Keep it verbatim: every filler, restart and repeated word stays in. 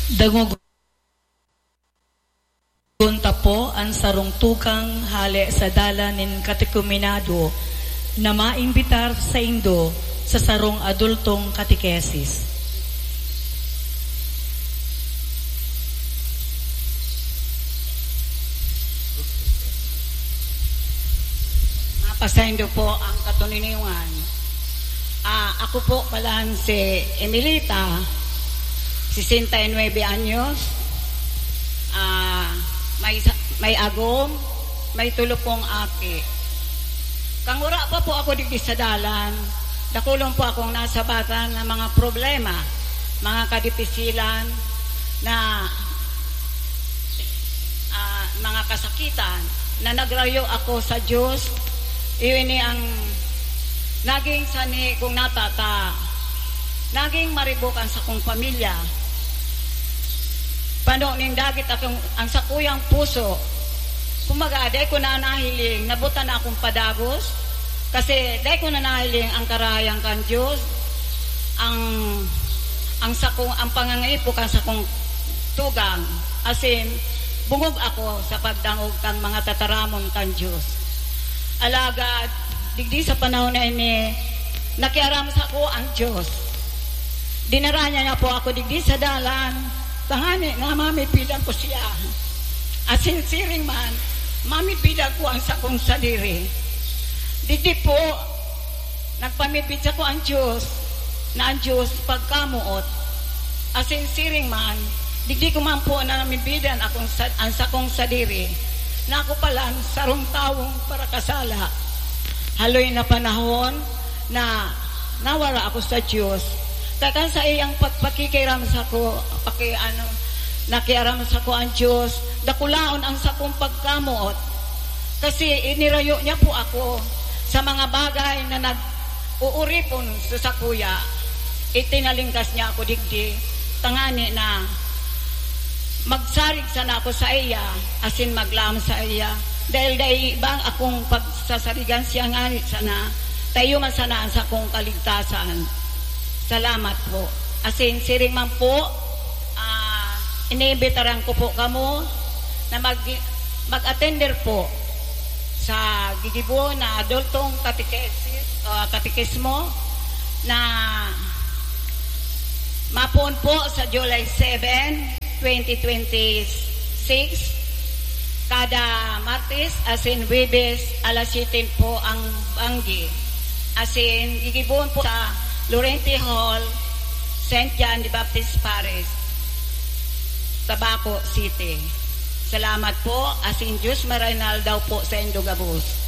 Dangogon ta po an sarong tugang hale sa dalan nin katekumenado na maimbitar saindo sa sarong adultong katekesis. Mapasaindo po ang katoninongan. Ah, ako po palan si Emilita, sesenta y nuebe anyos. Ah, may sa-, may agom, may tulo pong aki. Kan wara pa po ako digdi sa dalan, dakulon po akong nasabatan ng mga problema, mga kadipisilan na, ah, mga kasakitan na nagrayo ako sa Diyos. Iyo ini ang naging sanhi kong natata. Naging maribok ang sakong pamilya. Pano nin dagit akong, ang sakuyang puso. Kumbaga, dai ko na nahiling, nabutan na akong padagos. Kasi dai ko na nahiling ang karahayan kan Diyos. Ang, ang sakong, ang pangangaipo kan sakong tugang. Asin, bungog ako sa pagdangog kan mga tataramon kan Diyos. Alagad, digdi sa panahon na ini, nakiaram sako ang Diyos. Dinara niya na po ako digdi sa dalan, tanganing na mamipidan ko siya. Asin siring man, mamipidan ko ang sakong sadiri. Digdi po, nagpamipid sako ang Diyos, na ang Diyos pagkamoot. Asin siring man, digdi ko man po na namibidan akong sa-, ang sakong sadiri, na ako palan sarong tawong parakasala. Haloy na panahon na nawara ako sa Diyos. Kakan sa iyang pagpakikiram sako, paki-, ano, nakiaram sako ang Diyos, dakulaon ang sakong pagkamoot. Kasi inirayo niya po ako sa mga bagay na nag-uuripon sa sakuya. Itinalingkas niya ako digdi, tangani na magsarig sana ako sa iya, asin maglaom sa iya. Dahil dai iba akong pagsasarigan, siya ngani sana, ta iyo man sana ang sakong kaligtasan. Salamat po. Asin siring man po, ah, iniimbitaran ko po kamo na mag-, mag-attender po sa gigibo na adultong katekesis, ah, katekismo na mapoon po sa July seven, twenty twenty-six, kada Martes asin Huwebes, alas siyete po ang banggi. Asin gigibohon po sa Lorente Hall, Saint John the Baptist Parish, Tabaco City. Salamat po, asin Diyos maraynal daw po saindo gabos.